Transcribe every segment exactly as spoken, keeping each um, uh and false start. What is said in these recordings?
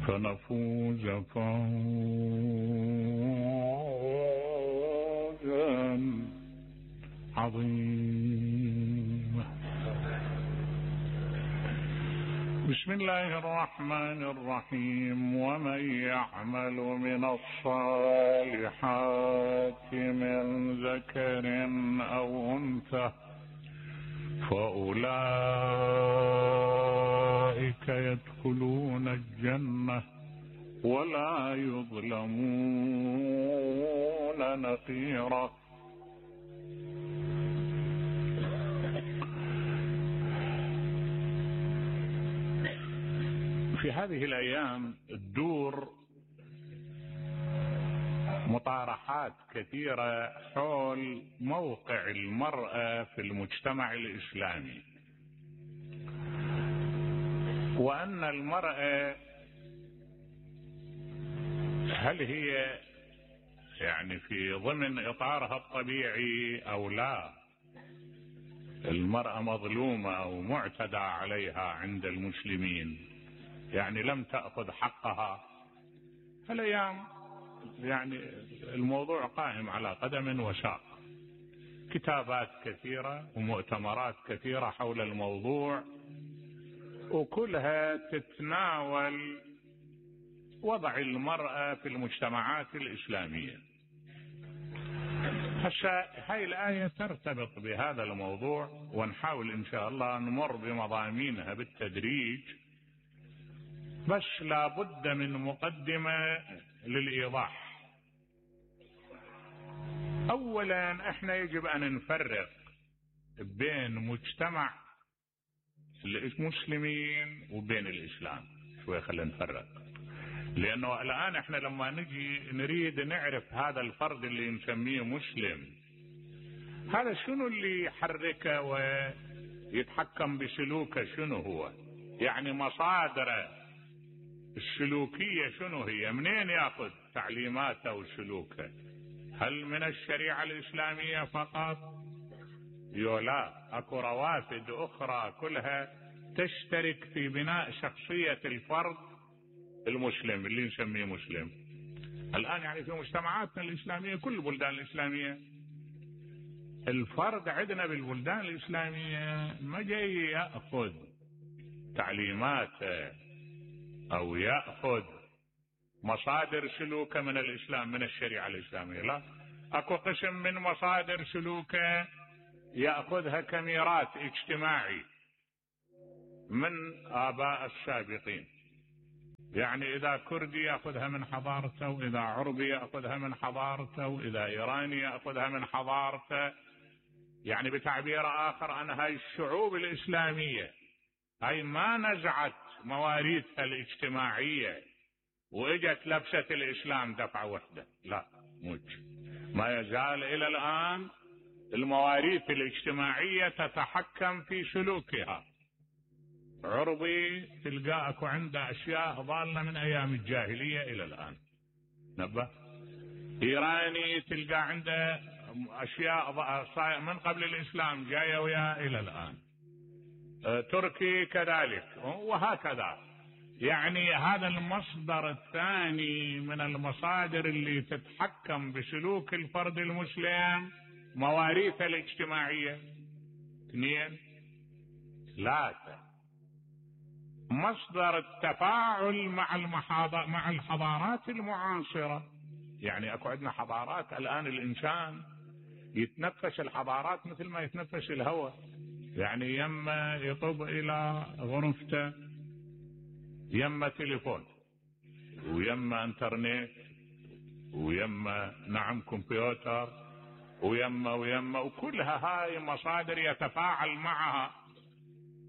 فنفوز فوزا عظيما. بسم الله الرحمن الرحيم. ومن يعمل من الصالحات من ذكر أو أنثى فأولئك يدخلون الجنة ولا يظلمون نقيرا. في هذه الأيام تدور مطارحات كثيرة حول موقع المرأة في المجتمع الإسلامي، وأن المرأة هل هي يعني في ضمن إطارها الطبيعي أو لا؟ المرأة مظلومة أو معتدى عليها عند المسلمين، يعني لم تأخذ حقها. الأيام يعني الموضوع قائم على قدم وساق، كتابات كثيرة ومؤتمرات كثيرة حول الموضوع، وكلها تتناول وضع المرأة في المجتمعات الإسلامية. هسه هاي الآية ترتبط بهذا الموضوع، ونحاول إن شاء الله نمر بمضامينها بالتدريج، بس لابد من مقدمة للإيضاح. أولا احنا يجب أن نفرق بين مجتمع المسلمين وبين الإسلام. شوي خلينا نفرق، لأنه الآن احنا لما نجي نريد نعرف هذا الفرد اللي نسميه مسلم، هذا شنو اللي يحركه ويتحكم بسلوكه؟ شنو هو؟ يعني مصادره السلوكية شنو هي؟ منين ياخذ تعليماته وسلوكه؟ هل من الشريعة الإسلامية فقط؟ يولا، اكو روافد اخرى كلها تشترك في بناء شخصية الفرد المسلم اللي نسميه مسلم. الآن يعني في مجتمعاتنا الإسلامية، كل البلدان الإسلامية، الفرد عندنا بالبلدان الإسلامية ما جاي يأخذ تعليماته أو يأخذ مصادر سلوكه من الإسلام، من الشريعة الإسلامية. لا، أكو قسم من مصادر سلوكه يأخذها كميراث اجتماعي من آباء السابقين. يعني إذا كردي يأخذها من حضارته، وإذا عربي يأخذها من حضارته، وإذا إيراني يأخذها من حضارته. يعني بتعبير آخر أن هاي الشعوب الإسلامية هاي ما نزعت مواريثها الاجتماعية وإجت لبست الإسلام دفعة واحدة، لا، موج. ما يزال إلى الآن المواريث الاجتماعية تتحكم في سلوكها. عربي تلقاك عنده أشياء ضالة من أيام الجاهلية إلى الآن، نبه. إيراني تلقى عنده أشياء من قبل الإسلام جاية وياه إلى الآن. تركي كذلك، وهكذا. يعني هذا المصدر الثاني من المصادر اللي تتحكم بسلوك الفرد المسلم، مواريثه الاجتماعية. اثنين، ثلاثة، مصدر التفاعل مع المحاضر مع الحضارات المعاصرة. يعني اكو عندنا حضارات الآن الإنسان يتنفس الحضارات مثل ما يتنفس الهواء، يعني يما يطب إلى غرفته يما تليفون، ويما انترنت، ويما نعم كمبيوتر، ويما ويما وكلها هاي مصادر يتفاعل معها،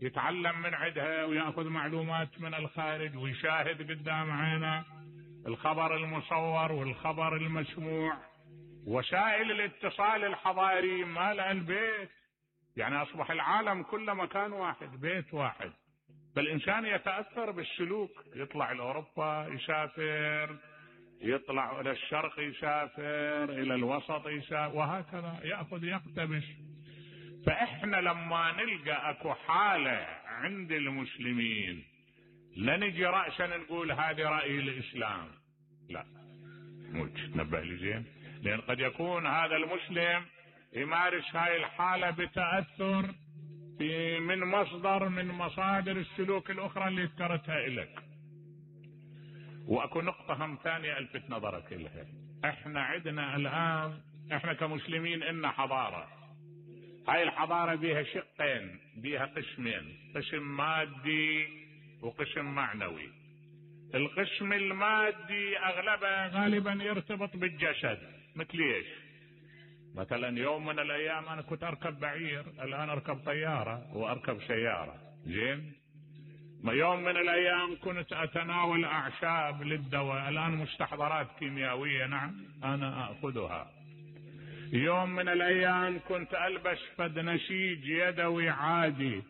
يتعلم من عندها ويأخذ معلومات من الخارج ويشاهد قدام عينه الخبر المصور والخبر المسموع. وسائل الاتصال الحضاري مال البيت، يعني أصبح العالم كله مكان واحد، بيت واحد. فالإنسان يتأثر بالسلوك، يطلع لأوروبا يسافر، يطلع إلى الشرق يسافر، إلى الوسط يسافر، وهكذا يأخذ يقتبس. فإحنا لما نلقى أكو حالة عند المسلمين لا نجي رأسا نقول هذه رأي الإسلام، لا مو تنبه لي زين، لأن قد يكون هذا المسلم يمارس هاي الحالة بتأثر في من مصدر من مصادر السلوك الأخرى اللي ذكرتها لك. وأكو نقطة هم ثانية ألفت نظرك لها. احنا عندنا الآن احنا كمسلمين إن حضارة، هاي الحضارة بيها شقين، بيها قسمين، قسم مادي وقسم معنوي. القسم المادي أغلبه غالبا يرتبط بالجسد، مثل ايش؟ مثلا يوم من الأيام أنا كنت أركب بعير، الآن أركب طيارة وأركب سيارة، زين؟ ما يوم من الأيام كنت أتناول أعشاب للدواء، الآن مستحضرات كيميائية نعم أنا أخذها. يوم من الأيام كنت ألبس فد نسيج يدوي عادي،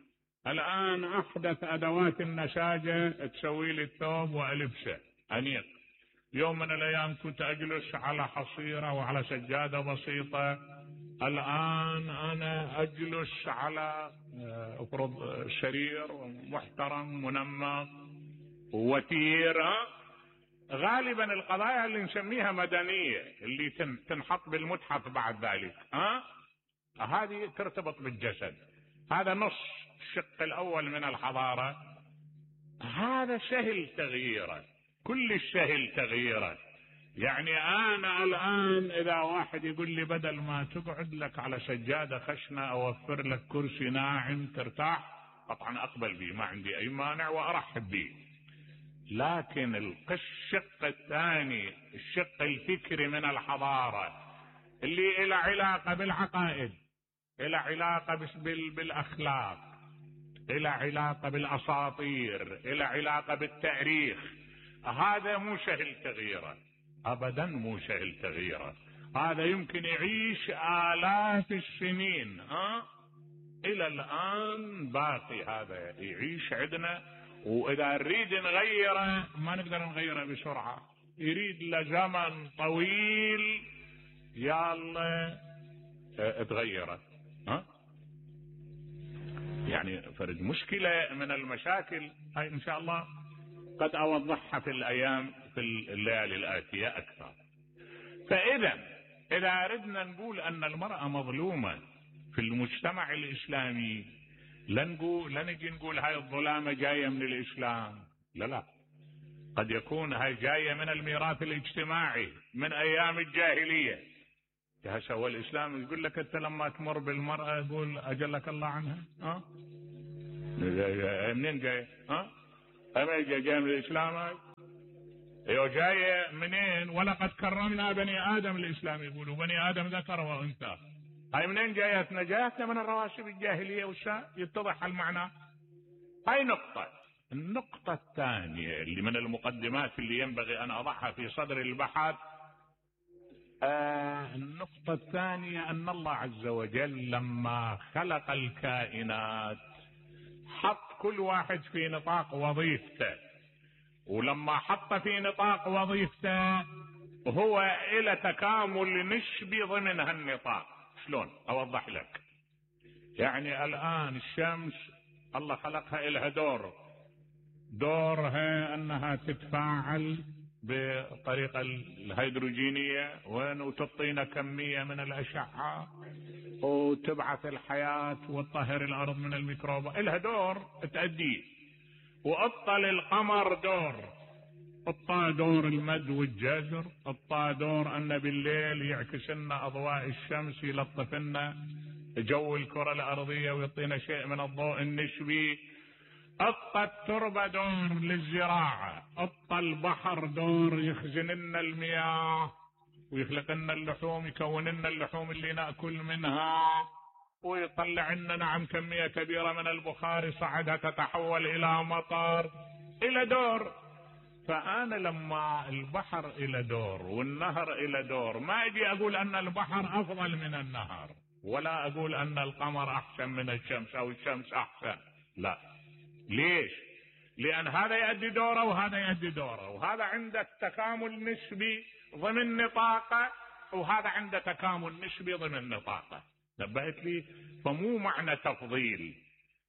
الآن أحدث أدوات النساجة تسوي لي الثوب وألبسه أنيق. يوم من الأيام كنت أجلس على حصيرة وعلى سجادة بسيطة، الآن أنا أجلس على أفرض سرير محترم منمق وتير. غالبا القضايا اللي نسميها مدنية اللي تنحط بالمتحف بعد ذلك ها أه؟ هذه ترتبط بالجسد. هذا نص الشق الأول من الحضارة، هذا سهل تغييره، كل سهل تغييره. يعني أنا الآن إذا واحد يقول لي بدل ما تقعد لك على سجادة خشنة أوفر لك كرسي ناعم ترتاح، طبعا أقبل به، ما عندي أي مانع وأرحب به. لكن الشق الثاني، الشق الفكري من الحضارة اللي إلى علاقة بالعقائد، إلى علاقة بالأخلاق، إلى علاقة بالأساطير، إلى علاقة بالتاريخ، هذا مو سهل تغييره، أبدا مو سهل تغييره. هذا يمكن يعيش آلاف السنين ها إلى الآن باقي، هذا يعيش عندنا. وإذا نريد نغيره ما نقدر نغيره بسرعة، يريد لزمن طويل يلا تغيره ها. يعني فرد مشكلة من المشاكل هاي إن شاء الله قد أوضحها في الأيام في الليالي الآتية أكثر. فإذا إذا أردنا نقول أن المرأة مظلومة في المجتمع الإسلامي، لا نقول لا نجي نقول هاي الظلامة جاية من الإسلام، لا لا، قد يكون هاي جاية من الميراث الاجتماعي من أيام الجاهلية. هسه هو الإسلام يقول لك أنت لما تمر بالمرأة يقول أجلك الله عنها ها أه؟ منين جاية ها أما جاية من الإسلام هاي؟ ايوه جاية منين؟ ولقد كرمنا بني آدم، الإسلام يقولوا بني آدم ذكر وأنثى. هاي منين جايتنا؟ جايتنا من الرواسب الجاهلية والشاء، يتضح المعنى. هاي نقطة. النقطة الثانية اللي من المقدمات اللي ينبغي أن أضعها في صدر البحث، آه النقطة الثانية أن الله عز وجل لما خلق الكائنات حط كل واحد في نطاق وظيفته، ولما حط في نطاق وظيفته هو إلى تكامل نسبي ضمن هالنطاق. شلون أوضح لك؟ يعني الآن الشمس الله خلقها إلها دور، دورها أنها تتفاعل بطريقة الهيدروجينية وتعطينا كمية من الأشعة وتبعث الحياة وتطهر الأرض من الميكروبات، إلها دور تأديه. وأبطل القمر دور، أبطى دور المد والجزر، أبطى دور أن بالليل يعكس لنا أضواء الشمس يلطف لنا جو الكرة الأرضية ويعطينا شيء من الضوء النسبي. أبطى التربة دور للزراعة، أبطى البحر دور يخزن لنا المياه ويخلق لنا اللحوم، يكون لنا اللحوم اللي نأكل منها ويطلع لنا نعم كمية كبيرة من البخار صعدها تتحول إلى مطر، إلى دور. فأنا لما البحر إلى دور والنهر إلى دور، ما أجي أقول أن البحر أفضل من النهر، ولا أقول أن القمر أحسن من الشمس أو الشمس أحسن، لا. ليش؟ لأن هذا يؤدي دوره وهذا يؤدي دوره، وهذا عنده تكامل نسبي ضمن نطاقه وهذا عنده تكامل نسبي ضمن نطاقه. نبهت لي؟ فمو معنى تفضيل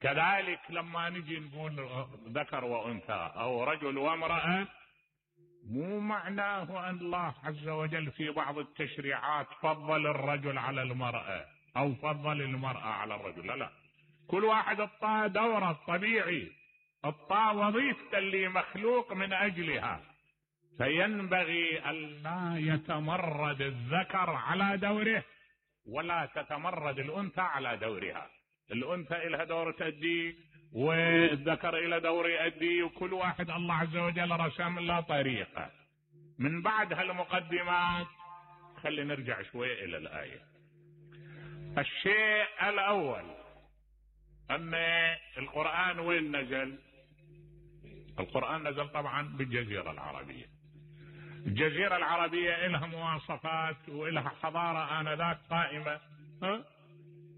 كذلك لما نجي نقول ذكر وأنثى أو رجل وامرأة، مو معناه أن الله عز وجل في بعض التشريعات فضل الرجل على المرأة أو فضل المرأة على الرجل، لا لا، كل واحد اعطاه دوره الطبيعي، اعطاه وظيفة اللي مخلوق من أجلها، فينبغي أن لا يتمرد الذكر على دوره ولا تتمرد الأنثى على دورها. الأنثى إلها دور تأديه والذكر إلى دور يأديه، وكل واحد الله عز وجل رسم له طريقة. من بعد هالمقدمات خلي نرجع شوية إلى الآية. الشيء الأول أن القرآن وين نزل؟ القرآن نزل طبعا بالجزيرة العربية. الجزيرة العربية إلها مواصفات وإلها حضارة آنذاك قائمة، ها؟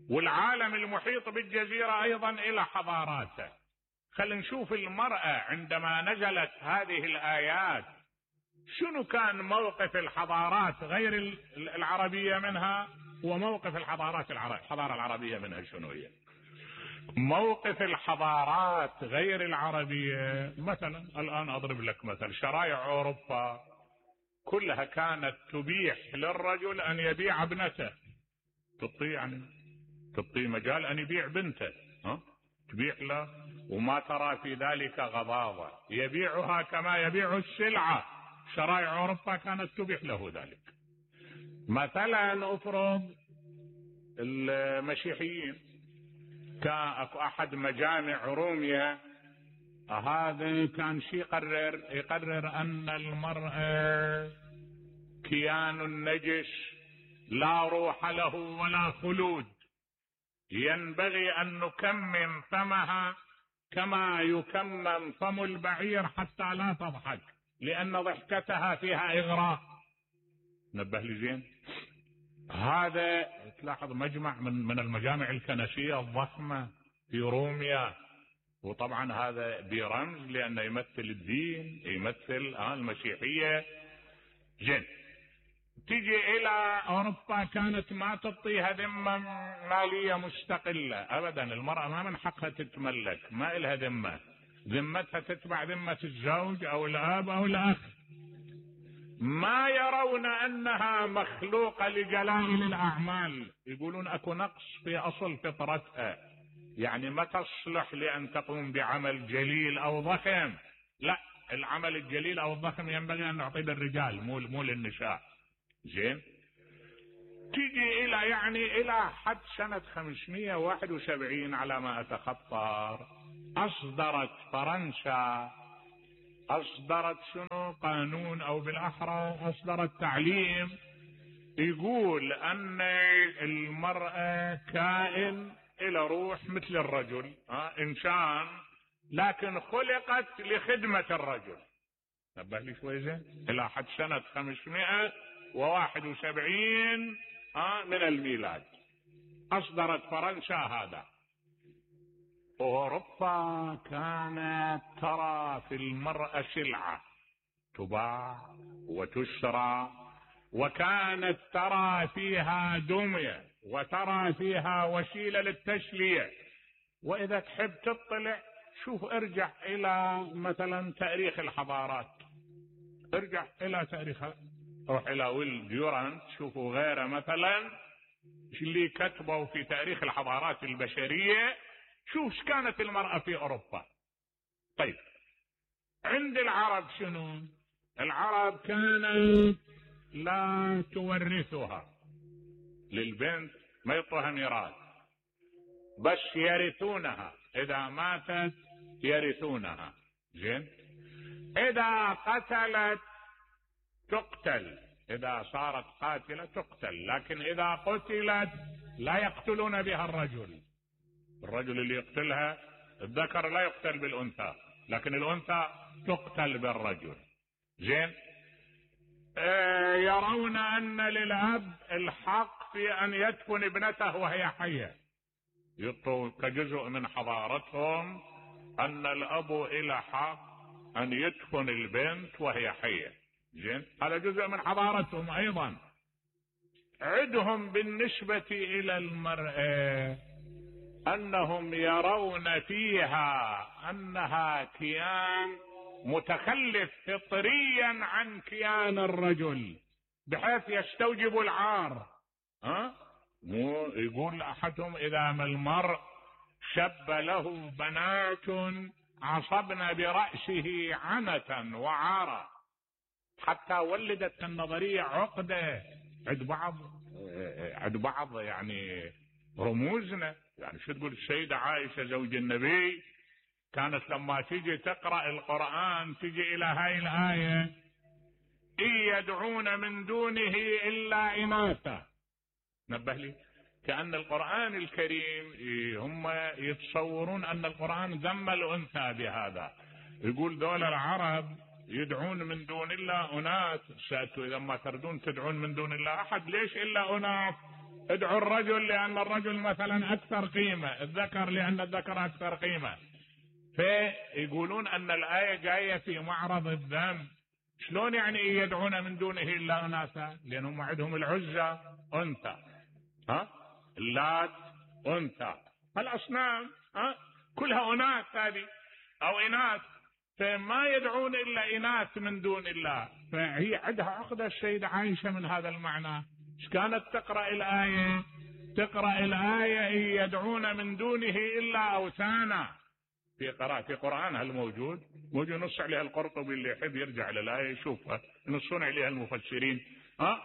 والعالم المحيط بالجزيرة أيضا إلى حضاراته. خلينا نشوف المرأة عندما نزلت هذه الآيات شنو كان موقف الحضارات غير العربية منها، وموقف الحضارات العربية الحضارة العربية منها شنو هي. موقف الحضارات غير العربية مثلا، الآن أضرب لك مثل، شرائع أوروبا كلها كانت تبيح للرجل أن يبيع ابنته، تعطيه يعني تعطيه مجال أن يبيع بنته، ها؟ تبيح له، وما ترى في ذلك غضاضة، يبيعها كما يبيع السلعة. شرائع أوروبا كانت تبيح له ذلك. مثلا أفرض المسيحيين، كان أكو أحد مجامع روميا، هذا كان شي يقرر يقرر أن المرأة كيان نجس لا روح له ولا خلود، ينبغي أن نكمم فمها كما يكمم فم البعير حتى لا تضحك، لأن ضحكتها فيها إغراء. نبه لي زين. هذا تلاحظ مجمع من من المجامع الكنسية الضخمة في روميا، وطبعا هذا برمز لأنه يمثل الدين، يمثل آه المسيحية. زين، تيجي إلى أوروبا كانت ما تعطيها ذمة مالية مستقلة أبدا، المرأة ما من حقها تتملك، ما إلها ذمة، ذمتها تتبع ذمة الزوج أو الأب أو الأخ. ما يرون أنها مخلوقة لجلائل الأعمال، يقولون أكو نقص في أصل فطرتها، يعني ما تصلح لأن تقوم بعمل جليل أو ضخم. لا، العمل الجليل أو الضخم ينبغي أن نعطيه للرجال مو مو للنساء. زين، تيجي إلى يعني إلى حد سنة خمسمائة وواحد وسبعين على ما أتخطر، أصدرت فرنسا أصدرت شنو قانون، أو بالأحرى أصدرت تعليم يقول أن المرأة كائن إلى روح مثل الرجل، ها إنسان، لكن خلقت لخدمة الرجل. نبه لي شوي زين. إلى حد سنة خمسمائة وواحد وسبعين ها من الميلاد أصدرت فرنسا هذا. أوروبا كانت ترى في المرأة سلعة تباع وتشترى، وكانت ترى فيها دمية وترى فيها وسيلة للتسلية. وإذا تحب تطلع شوف، ارجع إلى مثلا تاريخ الحضارات، ارجع إلى تاريخها، روح إلى ويل ديورانت شوفوا غيره مثلا اللي كتبوا في تاريخ الحضارات البشرية، شوف كانت المرأة في أوروبا. طيب عند العرب شنو؟ العرب كانت لا تورثها للبنت، ما يعطوها ميراث، بس يرثونها، إذا ماتت يرثونها. زين، إذا قتلت تقتل، إذا صارت قاتلة تقتل، لكن إذا قتلت لا يقتلون بها الرجل. الرجل اللي يقتلها، الذكر لا يقتل بالأنثى، لكن الأنثى تقتل بالرجل. زين، آه يرون أن للأب الحق في أن يدفن ابنته وهي حية، يعطوا كجزء من حضارتهم أن الأب إلى حق أن يدفن البنت وهي حية. زين، هذا جزء من حضارتهم أيضا. عندهم بالنسبة إلى المرأة أنهم يرون فيها أنها كيان متخلف فطريا عن كيان الرجل بحيث يستوجب العار. ها؟ مو يقول أحدهم إذا ما المرء شب له بنات عصبن برأسه عنة وعارا، حتى ولدت النظرية عقدة عند بعض عند بعض يعني رموزنا. يعني شو تقول السيدة عائشة زوج النبي كانت لما تيجي تقرأ القرآن تيجي إلى هاي الآية: إن يدعون من دونه إلا إناثا. نبه لي كأن القرآن الكريم هم يتصورون أن القرآن ذم الأنثى بهذا. يقول دول العرب يدعون من دون الله أناث. سألتوا إذا ما تردون تدعون من دون الله أحد ليش إلا أناث؟ ادعوا الرجل لأن الرجل مثلا أكثر قيمة، الذكر لأن الذكر أكثر قيمة. فيقولون أن الآية جاية في معرض الذم. شلون يعني يدعون من دونه إلا أناثا؟ لأنهم عندهم العزة أنثى، ها؟ اللات أنثى، الأصنام ها كلها أناث هذه أو إناث، فما يدعون إلا إناث من دون الله. فهي عندها عقدة السيدة عائشة من هذا المعنى. إيش كانت تقرأ الآية؟ تقرأ الآية: إن يدعون من دونه إلا أوثانا. في قراءة في قرآنها الموجود موجود نص عليها القرطبي، اللي يحب يرجع للآية يشوفها، ينصون عليها المفسرين. ها؟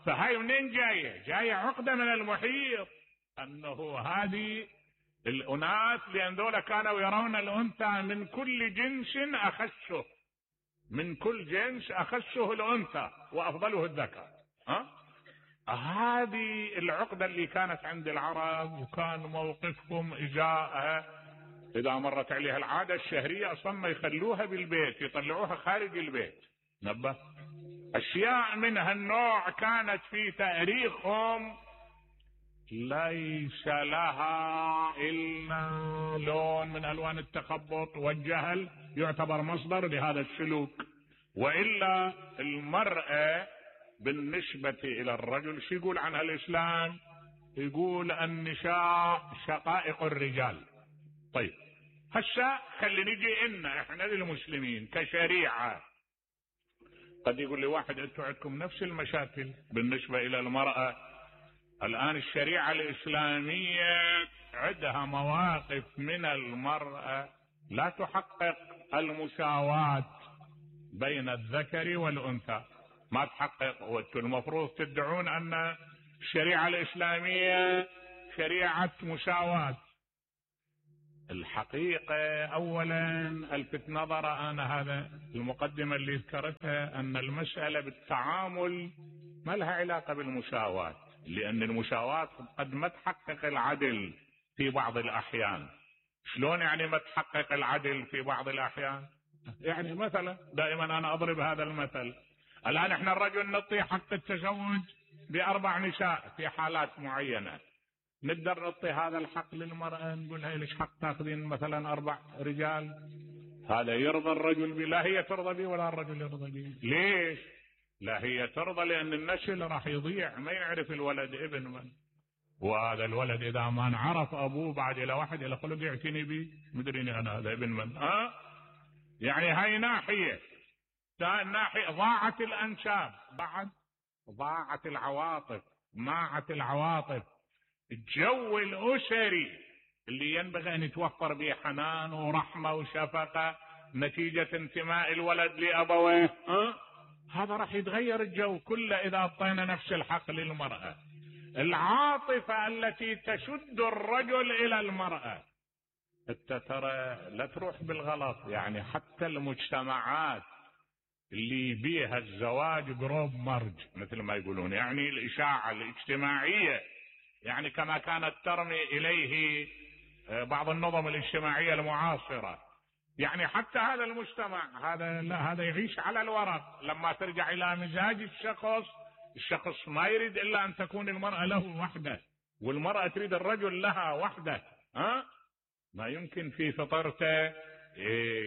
فهاي منين جاية؟ جاية عقدة من المحيط أنه هذه الأناث، لأن ذولا كانوا يرون الأنثى من كل جنس أخسه، من كل جنس أخسه الأنثى وأفضله الذكر. ها؟ هذه العقدة اللي كانت عند العرب، وكان موقفهم إجاءها إذا مرت عليها العادة الشهرية أصلا ما يخلوها بالبيت، يطلعوها خارج البيت. نبه أشياء من هالنوع كانت في تاريخهم ليس لها إلا لون من ألوان التخبط والجهل يعتبر مصدر لهذا السلوك. وإلا المرأة بالنسبة إلى الرجل شو يقول عنها الإسلام؟ يقول النساء شقائق الرجال. طيب هسه خلي نجي إن إحنا للمسلمين كشريعة. قد يقول لي واحد أنتم عندكم نفس المشاكل بالنسبة إلى المرأة. الآن الشريعة الإسلامية عندها مواقف من المرأة لا تحقق المساواة بين الذكر والأنثى، ما تحقق. وانتم المفروض تدعون أن الشريعة الإسلامية شريعة مساواة. الحقيقة أولا الفت نظر أنا هذا المقدمة اللي ذكرتها أن المسألة بالتعامل ما لها علاقة بالمساواة، لأن المساواة قد ما تحقق العدل في بعض الأحيان. شلون يعني ما تحقق العدل في بعض الأحيان؟ يعني مثلا دائما أنا أضرب هذا المثل. الآن احنا الرجل نعطي حق التزوج بأربع نساء في حالات معينة، نقدر نعطي هذا الحق للمرأة نقول هي ليش حق تاخذين مثلا أربع رجال؟ هذا يرضى الرجل به؟ لا هي ترضى به ولا الرجل يرضى به. ليش؟ لا هي ترضى لأن النسل راح يضيع، ما يعرف الولد ابن من، وهذا الولد إذا ما نعرف أبوه بعد إلى واحد إلى خلق يعتني به مدريني أنا هذا ابن من. ها؟ يعني هاي ناحية. ناحية ضاعت الأنساب، بعد ضاعت العواطف، ماعت العواطف. الجو الأسري اللي ينبغي أن يتوفر به حنان ورحمة وشفقة نتيجة انتماء الولد لأبويه، أه؟ هذا راح يتغير الجو كله إذا أعطينا نفس الحق للمرأة. العاطفة التي تشد الرجل إلى المرأة انت ترى لا تروح بالغلط. يعني حتى المجتمعات اللي بيها الزواج قروب مرج مثل ما يقولون، يعني الإشاعة الاجتماعية، يعني كما كانت ترمي إليه بعض النظم الاجتماعية المعاصرة. يعني حتى هذا المجتمع هذا لا هذا يعيش على الورق. لما ترجع إلى مزاج الشخص، الشخص ما يريد إلا أن تكون المرأة له وحده، والمرأة تريد الرجل لها وحده. ها؟ ما يمكن في فطرته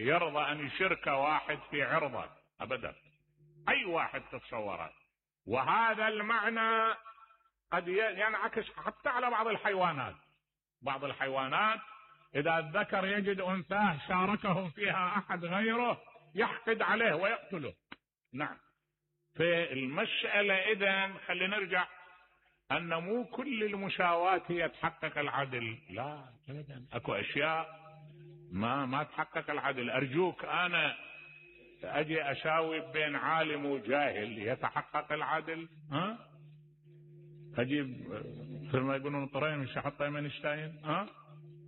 يرضى أن يشرك واحد في عرضه أبدا، أي واحد تتصوره. وهذا المعنى قد ينعكس حتى على بعض الحيوانات. بعض الحيوانات إذا الذكر يجد أنثاه شاركه فيها أحد غيره يحقد عليه ويقتله. نعم. في المسألة إذن خلينا نرجع أن مو كل المساواة هي تحقق العدل، لا أبدا، أكو أشياء ما ما تحقق العدل. أرجوك أنا أجي أساوي بين عالم وجاهل يتحقق العدل؟ ها؟ أجيب مثل ما يقولون طرين من شحط اينشتاين؟ ها؟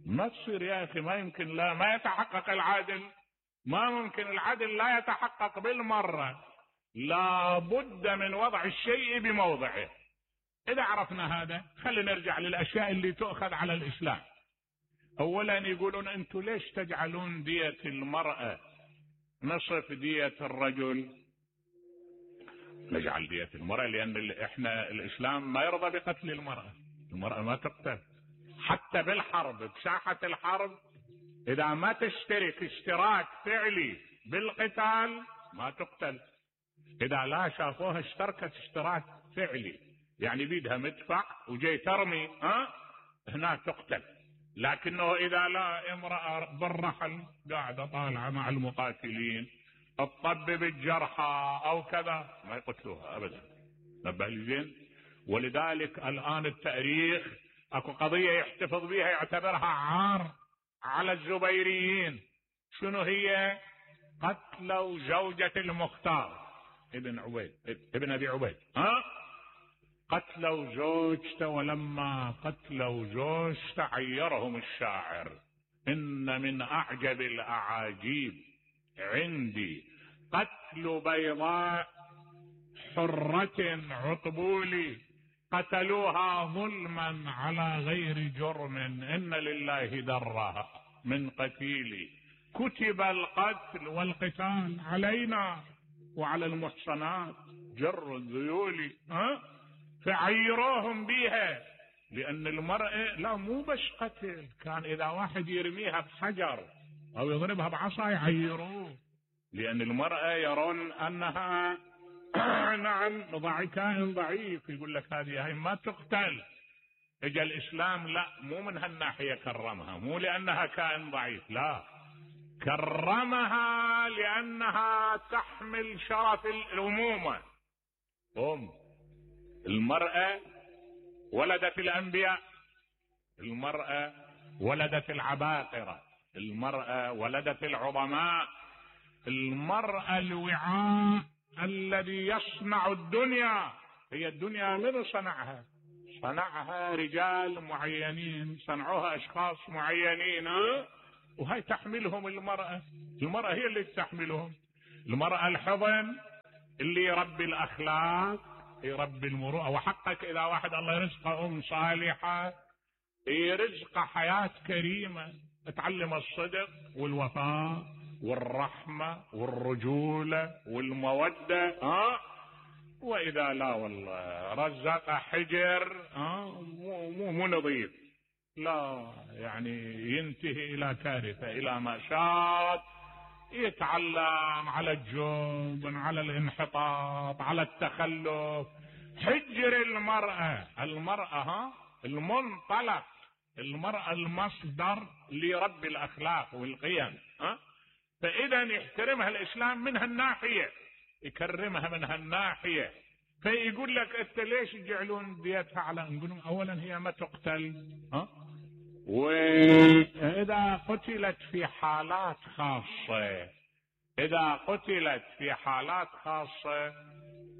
ما تصير يا أخي، ما يمكن، لا ما يتحقق العدل، ما ممكن العدل لا يتحقق بالمرة، لا بد من وضع الشيء بموضعه. إذا عرفنا هذا خلينا نرجع للأشياء اللي تؤخذ على الإسلام. أولا يقولون أنتم ليش تجعلون دية المرأة نصف دية الرجل؟ نجعل دية المرأة لأن إحنا الإسلام ما يرضى بقتل المرأة، المرأة ما تقتل حتى بالحرب، بساحة الحرب إذا ما تشترك اشتراك فعلي بالقتال ما تقتل. إذا لا شافوها اشتركت اشتراك فعلي يعني بيدها مدفع وجاي ترمي، ها هنا تقتل. لكنه إذا لا امرأة بالرحل قاعدة طالعة مع المقاتلين تطبب الجرحى أو كذا ما يقتلوها أبدا. نبه لي زين. ولذلك الآن التاريخ أكو قضية يحتفظ بها يعتبرها عار على الزبيريين. شنو هي؟ قتلوا زوجة المختار ابن عبيد ابن أبي عبيد، ها قتلوا زوجته، ولما قتلوا زوجته عيرهم الشاعر: إن من أعجب الأعاجيب عندي قتل بيضاء حرة عطبولي قتلوها ظلما على غير جرم إن لله درها من قتيلي كتب القتل والقتال علينا وعلى المحصنات جر الذيول، ها فعيروهم بيها. لأن المرأة لا مو بس قتل، كان إذا واحد يرميها بحجر أو يضربها بعصا يعيروه، لأن المرأة يرون أنها نعم ضعي كائن ضعيف، يقول لك هذه هاي ما تقتل. اجى الإسلام لا مو من هالناحية كرمها، مو لأنها كائن ضعيف، لا كرمها لأنها تحمل شرف الأمومة. أم المرأة ولدت الأنبياء، المرأة ولدت العباقرة، المرأة ولدت العظماء، المرأة الوعاء الذي يصنع الدنيا. هي الدنيا من صنعها؟ صنعها رجال معينين، صنعوها أشخاص معينين، وهي تحملهم المرأة. المرأة هي اللي تحملهم. المرأة الحضن اللي يربي الأخلاق، يربي المروءة. وحقك إذا واحد الله يرزقه أم صالحة يرزق حياة كريمة، تعلم الصدق والوفاء والرحمة والرجولة والمودة، ها وإذا لا والله رزق حجر ها مو مو, مو نظيف، لا يعني ينتهي إلى كارثة، إلى مأساة، يتعلم على الجبن، على الانحطاط، على التخلف. حجر المرأة، المرأة ها المنطلق، المرأة المصدر لرب الأخلاق والقيم، ها فإذا يحترمها الإسلام من هالناحية، يكرمها من هالناحية. فيقول لك أنت ليش يجعلون ديتها على؟ نقول أولا هي ما تقتل، ها وإذا قتلت في حالات خاصة، إذا قتلت في حالات خاصة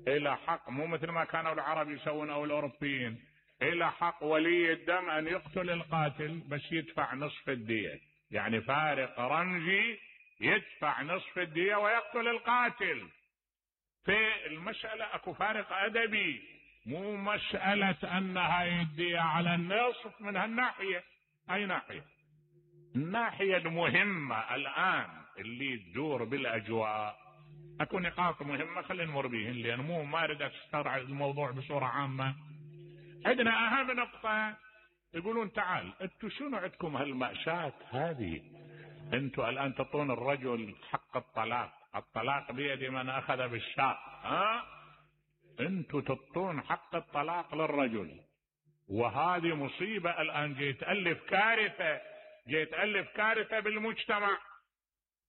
إلى حق، مو مثل ما كانوا العرب يسوون أو الأوروبيين، إلى حق ولي الدم أن يقتل القاتل بس يدفع نصف الدية، يعني فارق رمزي يدفع نصف الدية ويقتل القاتل. في المسألة أكو فارق أدبي، مو مسألة أنها الدية على النصف من هالناحية. أي ناحية؟ الناحية المهمة الآن اللي تدور بالأجواء، أكو نقاط مهمة خلينا نمر بيهن، لأن مو ما أريد أسترعى الموضوع بصورة عامة. عندنا أهم نقطة، يقولون تعال أنتوا شنو عندكم هالمأساة هذه؟ أنتوا الآن تعطون الرجل حق الطلاق، الطلاق بيد من أخذ بالشاق، ها أنتوا تعطون حق الطلاق للرجل، وهذه مصيبة الآن، جيت تألف كارثة، جيت تألف كارثة بالمجتمع.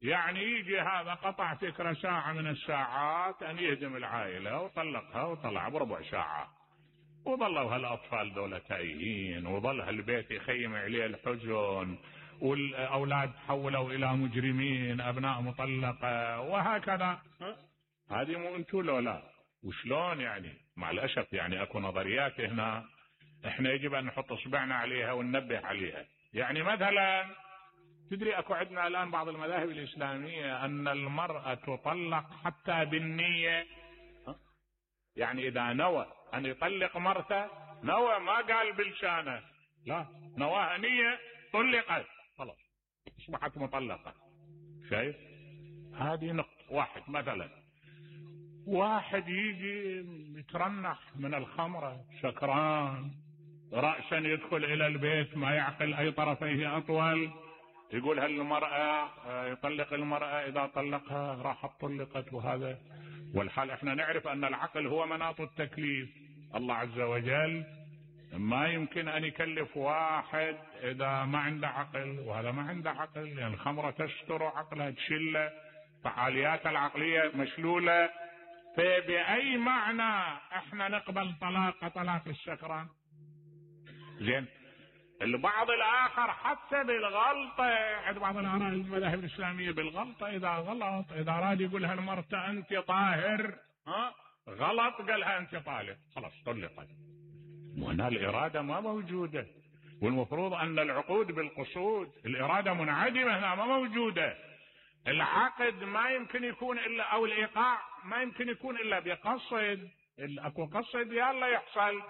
يعني يجي هذا قطع فكرة ساعة من الساعات أن يهدم العائلة وطلقها وطلع بربع ساعة، وظلوا هالأطفال دولة تايهين، وظل هالبيت يخيم عليه الحزن، والأولاد تحولوا إلى مجرمين، أبناء مطلقة، وهكذا. هذه مو أنتو لو لا؟ وشلون يعني؟ مع الأسف يعني أكو نظريات هنا إحنا يجب أن نحط إصبعنا عليها وننبه عليها. يعني مثلا تدري أكو عندنا الآن بعض المذاهب الإسلامية أن المرأة تطلق حتى بالنية. يعني إذا نوى أن يطلق مرته، نوى ما قال بلسانه، لا، نواها نية، طلقت خلاص أصبحت مطلقة. شايف؟ هذه نقطة. واحد مثلا واحد يجي يترنح من الخمرة سكران، رأسا يدخل إلى البيت ما يعقل أي طرفيه أطول، يقول هالمرأة يطلق المرأة، إذا طلقها راح طلقت. وهذا والحال احنا نعرف أن العقل هو مناط التكليف. الله عز وجل ما يمكن أن يكلف واحد إذا ما عنده عقل، وهذا ما عنده عقل، لأن يعني الخمرة تستر عقله، تشله، فعاليات العقلية مشلولة. فبأي معنى احنا نقبل طلاق طلاق السكران؟ زين، البعض الآخر حتى بالغلطة، عند بعض الآراء المذاهب الإسلامية بالغلطة إذا غلط، إذا راد يقول هالمرأة أنت طاهر، ها غلط قالها أنت طالق، خلاص طلقت. وهنا الإرادة ما موجودة، والمفروض أن العقود بالقصود، الإرادة منعدمة هنا ما موجودة. العقد ما يمكن يكون إلا، أو الإيقاع ما يمكن يكون إلا بقصد. أكو قصد يلا يحصل.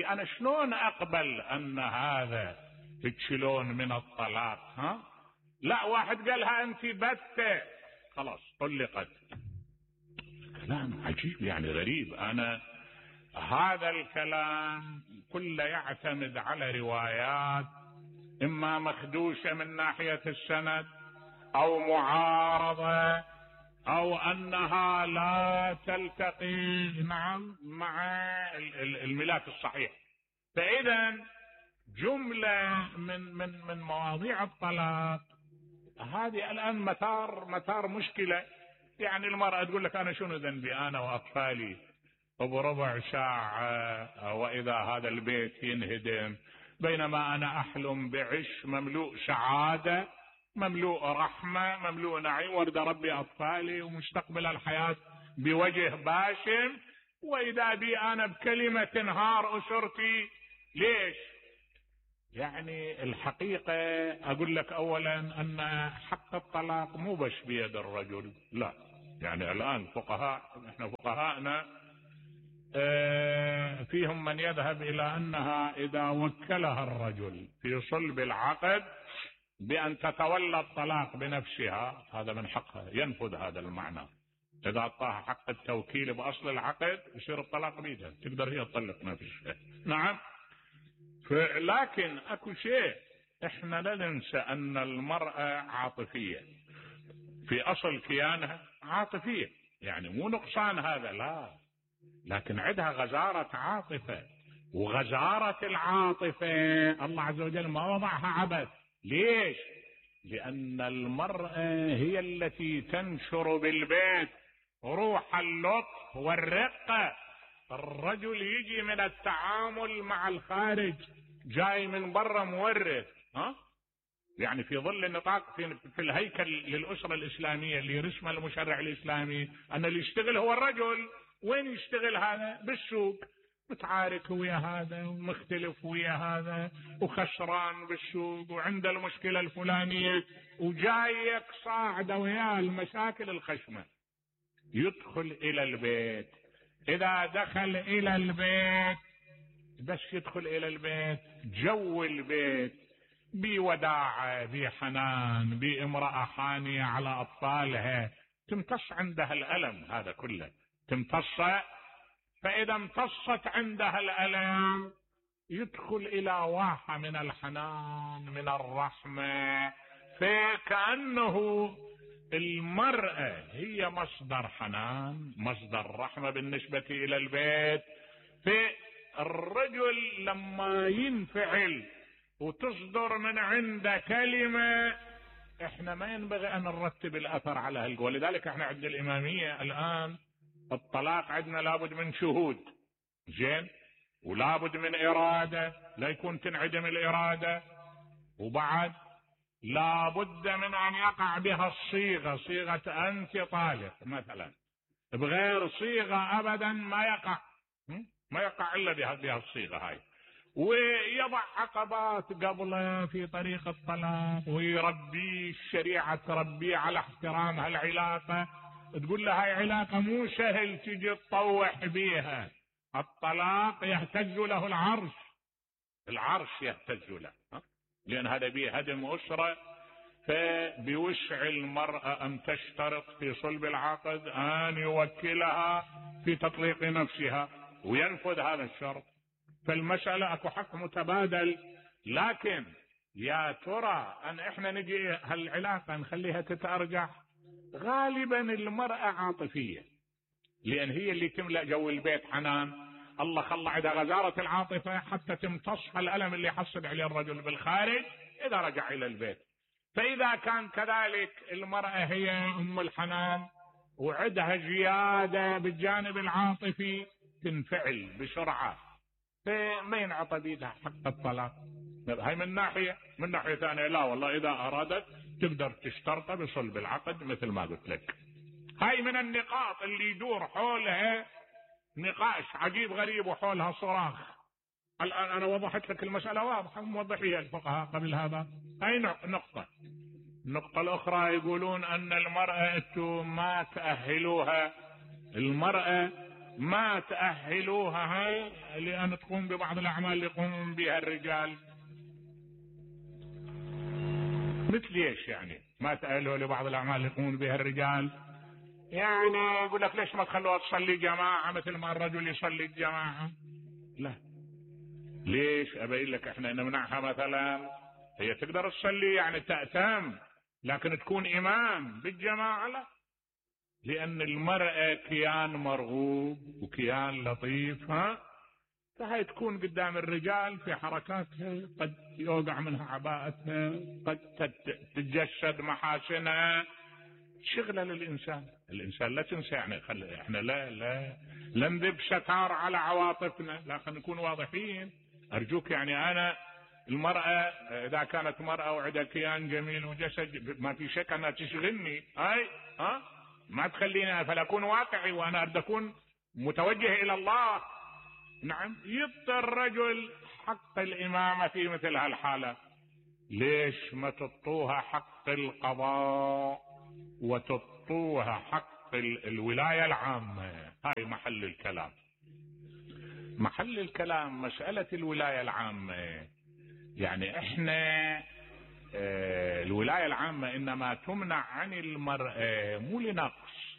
أنا شلون أقبل أن هذا تشيلون من الطلاق؟ ها لا، واحد قالها أنت بتة خلاص طلقت. كلام عجيب يعني غريب. أنا هذا الكلام كله يعتمد على روايات إما مخدوشة من ناحية السند، أو معارضة، أو أنها لا تلتقي نعم مع الملاك الصحيح. فإذا جملة من من من مواضيع الطلاق هذه الآن مثار مثار مشكلة. يعني المرأة تقول لك أنا شنو ذنبي أنا وأطفالي بربع ساعة، وإذا هذا البيت ينهدم، بينما أنا أحلم بعش مملوء سعادة، مملوء رحمة، مملوء نعيم، وارد ربي أطفالي ومستقبل الحياة بوجه باسم، وإذا بي أنا بكلمة تنهار أسرتي. ليش؟ يعني الحقيقة أقول لك أولا أن حق الطلاق مو بس بيد الرجل، لا. يعني الآن فقهاء، احنا فقهاءنا فيهم من يذهب إلى أنها إذا وكلها الرجل في صلب العقد بأن تتولى الطلاق بنفسها، هذا من حقها، ينفذ هذا المعنى. إذا أعطاها حق التوكيل بأصل العقد يصير الطلاق بيدها، تقدر هي تطلق نفسها. نعم. لكن أكو شيء احنا لا ننسى، أن المرأة عاطفية في أصل كيانها، عاطفية، يعني مو نقصان هذا لا، لكن عندها غزارة عاطفة. وغزارة العاطفة الله عز وجل ما وضعها عبث. ليش؟ لأن المرأة هي التي تنشر بالبيت روح اللطف والرقة. الرجل يجي من التعامل مع الخارج، جاي من برا مورث، ها يعني في ظل النطاق في, في الهيكل للأسرة الإسلامية اللي رسمه المشرع الإسلامي أن اللي يشتغل هو الرجل. وين يشتغل هذا؟ بالسوق، متعارك ويا هذا ومختلف ويا هذا وخسران بالسوق وعنده المشكلة الفلانية وجايك صاعدة وياه المشاكل الخشمة. يدخل إلى البيت، إذا دخل إلى البيت بس يدخل إلى البيت جو البيت بوداعة، بحنان، بامرأة حانية على أطفالها، تمتص عندها الألم هذا كله، تمتص. فإذا امتصت عندها الألم يدخل إلى واحة من الحنان من الرحمة. فكأنه المرأة هي مصدر حنان، مصدر رحمة بالنسبة إلى البيت. الرجل لما ينفعل وتصدر من عنده كلمة، احنا ما ينبغي ان نرتب الاثر على هالقوة. لذلك احنا عند الامامية الان الطلاق عندنا لابد من شهود، زين، ولابد من ارادة لا يكون تنعدم الارادة، وبعد لابد من ان يقع بها الصيغة، صيغة انت طالق مثلا، بغير صيغة ابدا ما يقع، ما يقع الا بها الصيغة هاي. ويضع عقبات قبله في طريق الطلاق، ويربي الشريعة تربيه على احترام هالعلاقة، تقول له هاي علاقة مو سهل تجي تطوح بيها. الطلاق يهتز له العرش، العرش يهتز له، لأن هذا بيه هدم أسرة. فبوسع المرأة أن تشترط في صلب العقد أن يوكلها في تطليق نفسها وينفذ هذا الشرط. فالمسألة اكو حق متبادل. لكن يا ترى ان احنا نجي هالعلاقة نخليها تتأرجح؟ غالبا المرأة عاطفية، لان هي اللي تملأ جو البيت حنان. الله خلى عندها غزارة العاطفة حتى تمتص الألم اللي يحصل عليه الرجل بالخارج اذا رجع الى البيت. فاذا كان كذلك المرأة هي ام الحنان وعندها زيادة بالجانب العاطفي تنفعل بسرعة، فما ينعطى بيدها حق الطلاق. هاي من ناحية. من ناحية ثانية لا والله اذا ارادت تقدر تشترط بصلب العقد مثل ما قلت لك. هاي من النقاط اللي يدور حولها نقاش عجيب غريب وحولها صراخ. الان انا وضحت لك المسألة واضحة، موضحيها الفقهاء قبل هذا. هاي نقطة. النقطة الاخرى يقولون ان المرأة ما تأهلوها، المرأة ما تأهلوها هاي لأن تقوم ببعض الأعمال اللي يقومون بها الرجال. مثل ايش يعني ما تأهلوها لبعض الأعمال اللي يقومون بها الرجال؟ يعني يقول لك ليش ما تخلوها تصلي جماعة مثل ما الرجل يصلي الجماعة؟ لا، ليش؟ أبين لك احنا نمنعها مثلا. هي تقدر تصلي يعني تأتم، لكن تكون إمام بالجماعة لا، لأن المرأة كيان مرغوب وكيان لطيف، ها، فهي تكون قدام الرجال في حركاتها قد يوقع منها عباءتها، قد تتجسد محاسنها، شغلة للإنسان. الإنسان لا تنسى يعني خل... احنا لا لا لا نذب ستار على عواطفنا، لكن نكون واضحين. أرجوك يعني أنا المرأة إذا كانت مرأة وعندها كيان جميل وجسد ما في شك أنها تشغلني، أي ها ما تخليني فلأكون واقعي وأنا أريد أكون متوجه إلى الله. نعم، يعطي الرجل حق الإمامة في مثل هالحالة. ليش ما تطوها حق القضاء وتطوها حق الولاية العامة؟ هاي محل الكلام. محل الكلام مسألة الولاية العامة. يعني احنا اه الولاية العامة انما تمنع عن المرأة مو لنقص،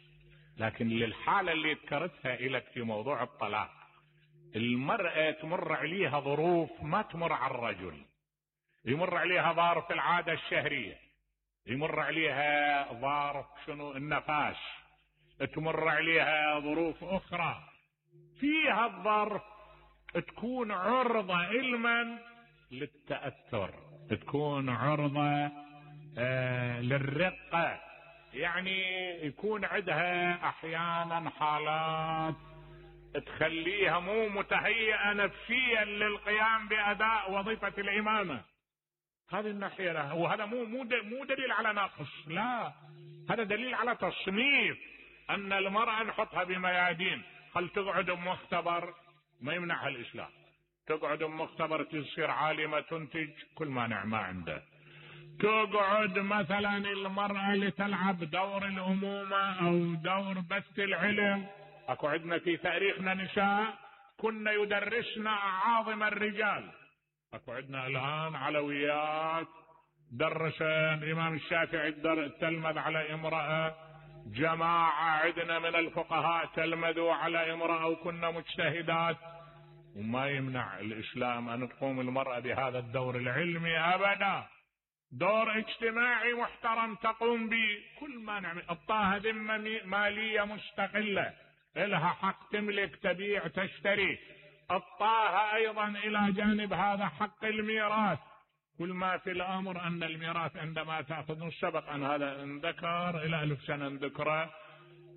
لكن للحالة اللي ذكرتها لك في موضوع الطلاق. المرأة تمر عليها ظروف ما تمر على الرجل، يمر عليها ظرف العادة الشهرية، يمر عليها ظرف شنو النفاس، تمر عليها ظروف اخرى. فيها الظرف تكون عرضة علما للتأثر، تكون عرضة آه للرقة، يعني يكون عندها احيانا حالات تخليها مو متهيئة نفسيا للقيام بأداء وظيفة الإمامة. هذه الناحية لها، وهذا مو مو مو دليل على ناقص، لا، هذا دليل على تصنيف أن المرأة نحطها بميادين. هل تقعد مختبر ما يمنعها الإسلام، تقعد مختبر تصير عالمة تنتج كل مانع ما عنده. تقعد مثلا المرأة لتلعب دور الأمومة أو دور بث العلم. اكو عندنا في تاريخنا نساء كنا يدرسنا اعاظم الرجال. اكو عندنا الان علويات درس الامام الشافعي تلمذ على امرأة، جماعة عندنا من الفقهاء تلمذوا على امرأة وكنا مجتهدات. وما يمنع الاسلام ان تقوم المرأة بهذا الدور العلمي ابدا، دور اجتماعي محترم تقوم به. كل ما نعمل اعطاها ذمة مالية مستقلة، لها حق تملك تبيع تشتري، الطاها أيضا إلى جانب هذا حق الميراث. كل ما في الأمر أن الميراث عندما تأخذ سبق أن هذا انذكر إلى ألف سنة انذكره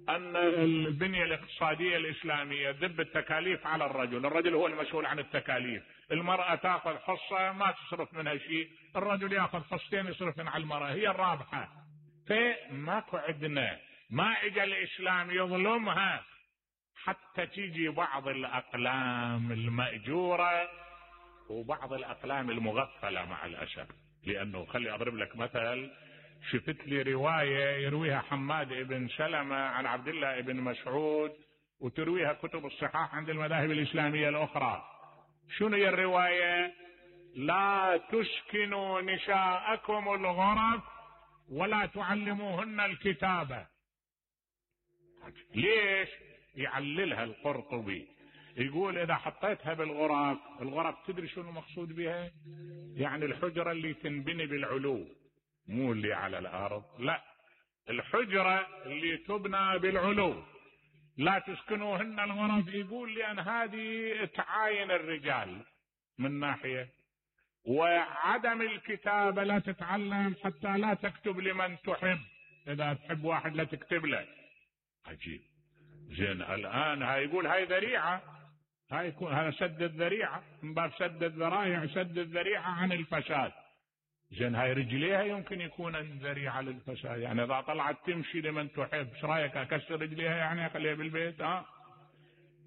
أن البنية الاقتصادية الإسلامية ذب التكاليف على الرجل. الرجل هو المسؤول عن التكاليف. المرأة تأخذ حصة ما تصرف منها شيء، الرجل يأخذ حصتين يصرف على المرأة، هي الرابحة. فماكو عندنا ما اجى الإسلام يظلمها حتى تيجي بعض الأقلام المأجورة وبعض الأقلام المغفلة مع الأسف. لأنه خلي أضرب لك مثل، شفت لي رواية يرويها حماد بن سلمة عن عبد الله بن مسعود وترويها كتب الصحاح عند المذاهب الإسلامية الأخرى. شنو هي الرواية؟ لا تسكنوا نساءكم الغرف ولا تعلموهن الكتابة. ليش؟ يعللها القرطبي، يقول إذا حطيتها بالغرف، الغرف تدري شنو المقصود بها؟ يعني الحجرة اللي تنبني بالعلو، مو اللي على الأرض، لا، الحجرة اللي تبنى بالعلو. لا تسكنوهن الغرف، يقول لأن هذه تعاين الرجال من ناحية، وعدم الكتابة لا تتعلم حتى لا تكتب لمن تحب. إذا تحب واحد لا تكتب له. عجيب. زين الآن هاي يقول هاي ذريعة، هاي يكون هذا سد الذريعة، من باب سد الذرائع سد الذريعة عن الفساد. زين هاي رجليها يمكن يكون ذريعة للفساد، يعني إذا طلعت تمشي لمن تحب، ايش رايك اكسر رجليها يعني اخليها بالبيت؟ ها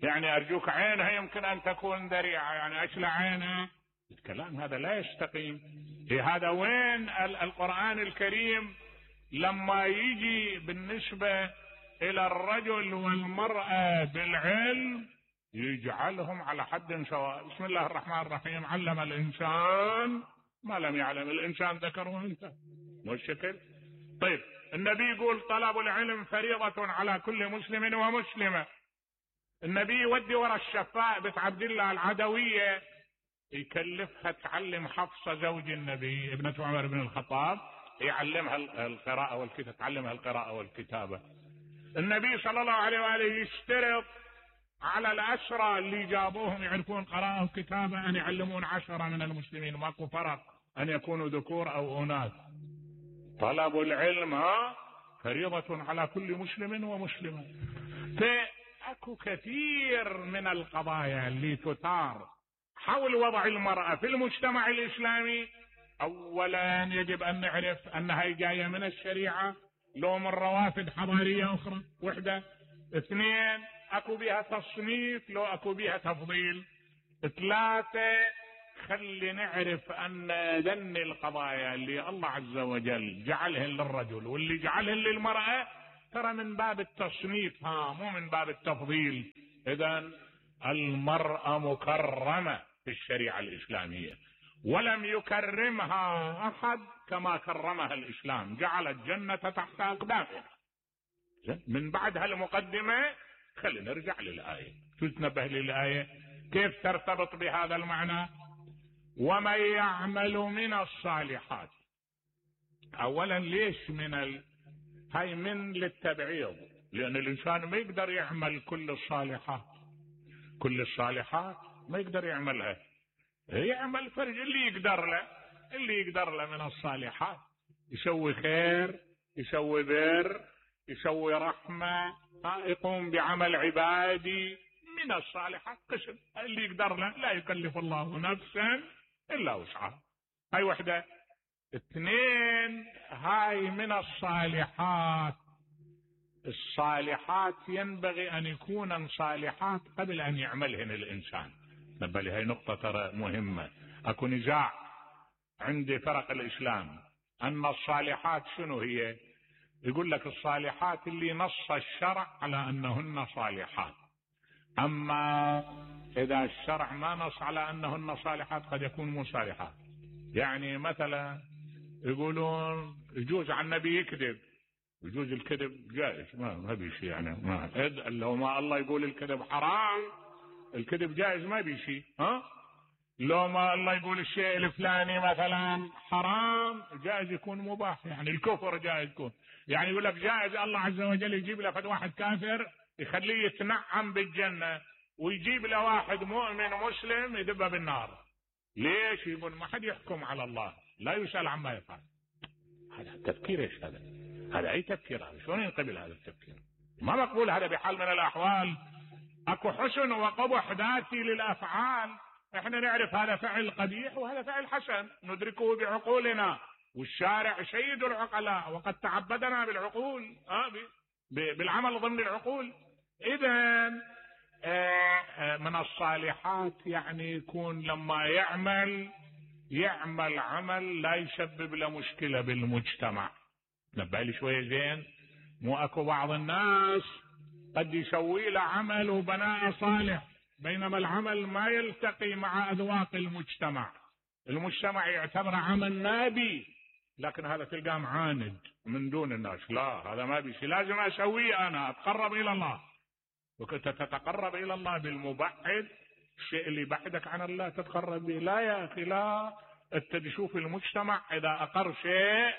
يعني ارجوك عينها يمكن ان تكون ذريعة، يعني اشلع عينها. الكلام هذا لا يستقيم. هذا وين القرآن الكريم لما يجي بالنسبة الى الرجل والمرأة بالعلم يجعلهم على حد سواء؟ بسم الله الرحمن الرحيم، علم الانسان ما لم يعلم. الانسان ذكر وانثى، مو الشكل. طيب النبي يقول طلب العلم فريضة على كل مسلم ومسلمة. النبي يودي ورا الشفاء بنت عبد الله العدوية يكلفها تعلم حفصة زوج النبي ابنة عمر بن الخطاب، يعلمها القراءة والكتابة، تعلمها القراءة والكتابة. النبي صلى الله عليه وآله يشترط على الأسرى اللي جابوهم يعرفون قراءة وكتابة أن يعلمون عشرة من المسلمين، ماكو فرق أن يكونوا ذكور أو أناث. طلب العلم ها فريضة على كل مسلم ومسلمة. فأكو كثير من القضايا اللي تثار حول وضع المرأة في المجتمع الإسلامي. أولا يجب أن نعرف أنها جاية من الشريعة لو من روافد حضارية أخرى، وحدة. اثنين اكو بها تصنيف لو اكو بها تفضيل. ثلاثة خلي نعرف ان ذن القضايا اللي الله عز وجل جعلهن للرجل واللي جعلهن للمرأة ترى من باب التصنيف، ها مو من باب التفضيل. اذن المرأة مكرمة في الشريعة الإسلامية، ولم يكرمها احد كما كرمها الإسلام، جعل الجنة تحت أقدامها. من بعد هالمقدمة خلينا نرجع للآية. شو تنبه للآية كيف ترتبط بهذا المعنى؟ ومن يعمل من الصالحات. اولا ليش من ال... هاي من للتبعيض، لان الانسان ما يقدر يعمل كل الصالحات، كل الصالحات ما يقدر يعملها، يعمل فرج اللي يقدر له، اللي يقدر له من الصالحات، يسوي خير، يسوي بر، يسوي رحمة، يقوم بعمل عبادي من الصالحات قسم اللي يقدر له، لا يكلف الله نفسا إلا وسعها. هاي وحدة. اثنين هاي من الصالحات. الصالحات ينبغي أن يكون صالحات قبل أن يعملهن الإنسان. نبه لي هاي نقطة ترى مهمة. أكو نزاع عند فرق الإسلام أن الصالحات شنو هي؟ يقول لك الصالحات اللي نص الشرع على أنهن صالحات، أما إذا الشرع ما نص على أنهن صالحات قد يكون مو صالحات. يعني مثلا يقولون يجوز على النبي يكذب، يجوز الكذب جائز، ما ما بيشي يعني ما لو ما الله يقول الكذب حرام، الكذب جائز ما بيشي. ها لو ما الله يقول الشيء الفلاني مثلا حرام جائز يكون مباح، يعني الكفر جائز يكون، يعني يقول لك جائز الله عز وجل يجيب لك واحد كافر يخليه يتنعم بالجنة ويجيب له واحد مؤمن مسلم يذبه بالنار. ليش؟ يقول ما حد يحكم على الله، لا يسأل عما يفعل. هذا التفكير ايش هذا؟ هذا اي تفكير هذا؟ شلون ينقبل هذا التفكير؟ ما مقبول هذا بحال من الاحوال. اكو حسن وقبح ذاتي للافعال، احنا نعرف هذا فعل قبيح وهذا فعل حسن ندركه بعقولنا، والشارع سيد العقلاء وقد تعبدنا بالعقول آه بالعمل ضمن العقول. اذا من الصالحات يعني يكون لما يعمل يعمل عمل لا يسبب له مشكلة بالمجتمع. نبه لي شوية زين، مو اكو بعض الناس قد يسوي له عمل وبناء صالح بينما العمل ما يلتقي مع اذواق المجتمع، المجتمع يعتبر عمل نابي، لكن هذا تلقاه معاند من دون الناس. لا هذا ما بيشي، لازم اسويه انا اتقرب الى الله. وكنت تتقرب الى الله بالمبعد، الشيء اللي يبعدك عن الله تتقرب به. لا يا اخي لا، انت تشوف المجتمع اذا اقر شيء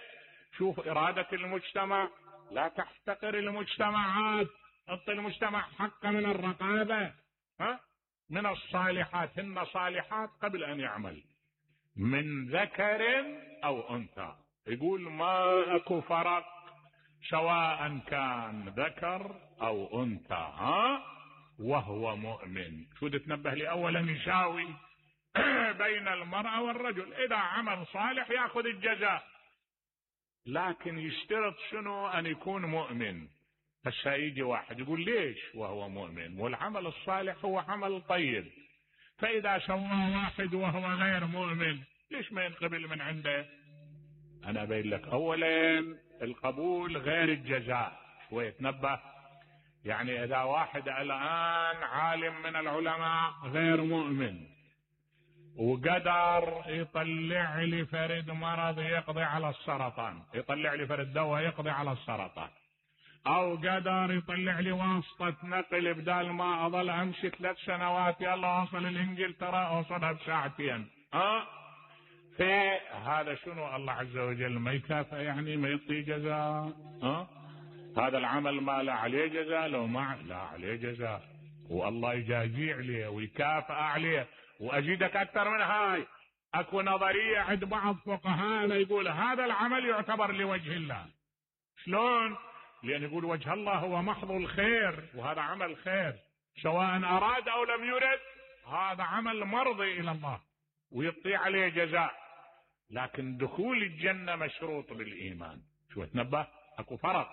شوف ارادة المجتمع، لا تحتقر المجتمعات، اعطي المجتمع حق من الرقابة. ها من الصالحات هن صالحات قبل ان يعمل من ذكر او انثى. يقول ما اكو فرق سواء كان ذكر او انثى ها وهو مؤمن. شو تتنبه لي؟ اولا يساوي بين المرأة والرجل، اذا عمل صالح ياخذ الجزاء، لكن يشترط شنو؟ ان يكون مؤمن. بس يجي واحد يقول ليش وهو مؤمن والعمل الصالح هو عمل طيب، فاذا سوى واحد وهو غير مؤمن ليش ما ينقبل من عنده؟ انا بين لك اولا القبول غير الجزاء. شوية تنبه، يعني اذا واحد الان عالم من العلماء غير مؤمن وقدر يطلع لي فرد مرض يقضي على السرطان، يطلع لي فرد دواء يقضي على السرطان، او قدر يطلع لي واسطة نقل بدال ما اظل امشي ثلاث سنوات يلا اوصل الانجلترا اوصلها بساعتين. ها في هذا شنو؟ الله عز وجل ما يكافئ، يعني ما يعطي جزاء. ها هذا العمل ما لا عليه جزاء، لو ما لا عليه جزاء، والله يجازي عليه ويكافئ عليه. واجدك اكثر من هاي، اكو نظرية عند بعض فقهاءنا يقول هذا العمل يعتبر لوجه الله. شلون؟ لان يقول وجه الله هو محض الخير، وهذا عمل خير سواء اراد او لم يرد، هذا عمل مرضي الى الله ويعطي عليه جزاء. لكن دخول الجنة مشروط بالإيمان. شو تنبه؟ أكو فرق،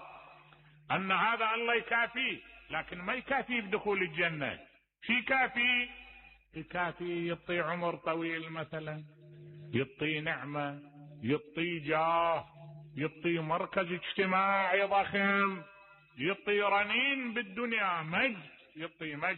أن هذا الله يكافيه لكن ما يكافيه بدخول الجنة. شي كافي؟ يكافي يعطي عمر طويل مثلا، يعطي نعمة، يعطي جاه، يعطي مركز اجتماعي ضخم، يعطي رنين بالدنيا، مجد، يعطي مجد.